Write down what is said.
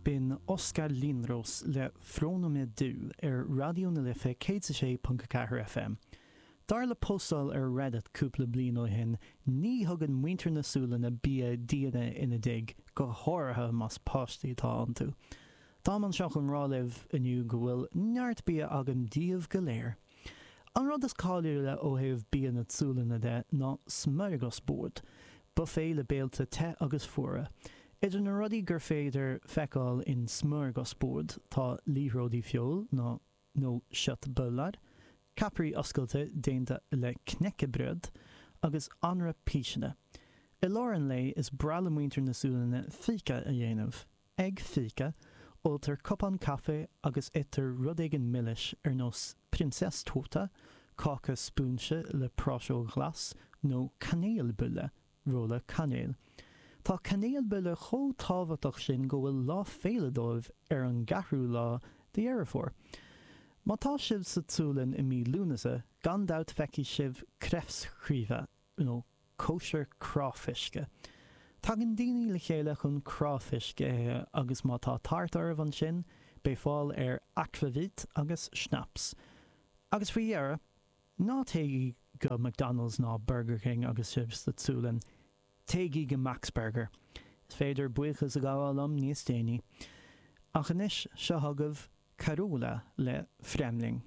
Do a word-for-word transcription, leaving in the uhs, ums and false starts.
B'in Oskar Linnros le Från och med du ar Raidió na Life céad a sé ponc a ceathair FM. Dar le postáil ar Reddit cúpla bliain ó shin, ní thugann muintir na Sualainne bia d'aoinne ina dtigh, go háirithe más páistí atá iontu. Táim anseo chun rá libh inniu go bhfuil neart bia agam daoibh go léir. An rud is cáiliúla ó thaobh bia na Sualainne de ná smörgåsbord, buffet le béilte te agus fuara. Idir na rudaí gur féidir feiceáil in smörgåsbord tá liathróidí feoil nó nó köttbullar, ceapairí oscailte déanta le knäckebröd, agus anraith píseanna. I lár an lae is breá le muintir na Sualainne fika a dhéanamh. Ag fika, óltar cupán caife agus itear rud éigin milis ar nós prinsesstårta, cáca spúinse le práiseog ghlas, nó kanelbulle, rolla cainéil. Tá kanelbulle chomh tábhachtach sin go bhfuil lá féile dóibh ar an gceathrú lá de Dheireadh Fómhair. Má tá sibh sa tSualainn i mí Lúnasa, gan dabht feicfidh sibh kräftskiva, nó cóisir cráifisce. Tagann daoine le chéile chun cráifisc a ithe agus má tá tart oraibh ansin, beidh fáil ar akvavit agus snaps. Agus faoi dheireadh, ná téigí go McDonald's ná Burger King agus sibh sa tSualainn, téigí go Max Burger. Is féidir buíochas a ghabháil liom níos déanaí. Ach anois, seo chugaibh Carola le Främling.